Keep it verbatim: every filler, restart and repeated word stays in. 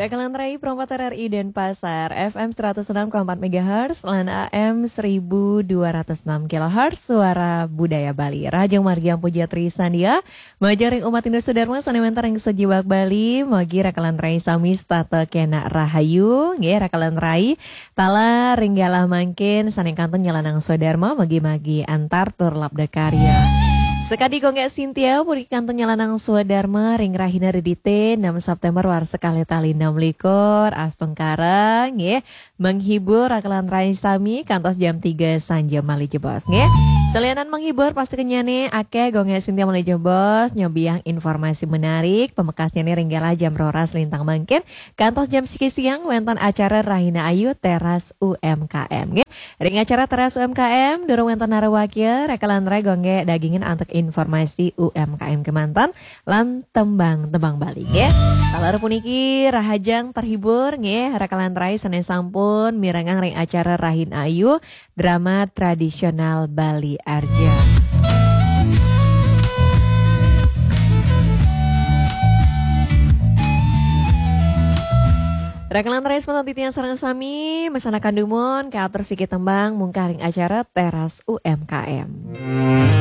Rakalan rai, Pro empat R R I Denpasar, F M seratus enam koma empat megahertz, lan A M seribu dua ratus enam kilohertz, Suara Budaya Bali. Rahajeng margi Ampuja Tri Sandia, majeng ring umat Hindu Sudarma sané wénten ring sajiwak Bali, mugi rakalan rai sami setata kénak rahayu, nggih rakalan rai, taler ring galah mangkin sané kantun nyalanang swadarma, mugi-mugi antar tur labda karya. Sakadi Gung Gék Sintia, puniki kantun nyalanang swadarma ring rahina Redité, enam September warsa kalih tali enam likur, astungkara, nggih, menghibur rakalan rai sami kantos jam tiga sanja malih jebos, nggih. Salianan menghibur, pasti kenyané akéh Gung Gék Sintia malih jebos, nyobiahang informasi menarik, pamekasnyané ring galah jam roras lintang mangkin, kantos jam siki siang wénten acara Rahina Ayu Teras U M K M, nggih. Ring acara Teras U M K M, durung wénten narawakya, rakalan rai Gung Gék dagingin antuk informasi U M K M kémanten, lan tembang-tembang Bali, nggih. Taler puniki rahajeng terhibur, nggih, rakalan rai sané sampun mirengang ring acara Rahina Ayu, drama tradisional Bali Arja. Rakalan rai semeton titiang sareng sami, masanakan dumun, katur siki tembang mungkah ring acara Teras U M K M.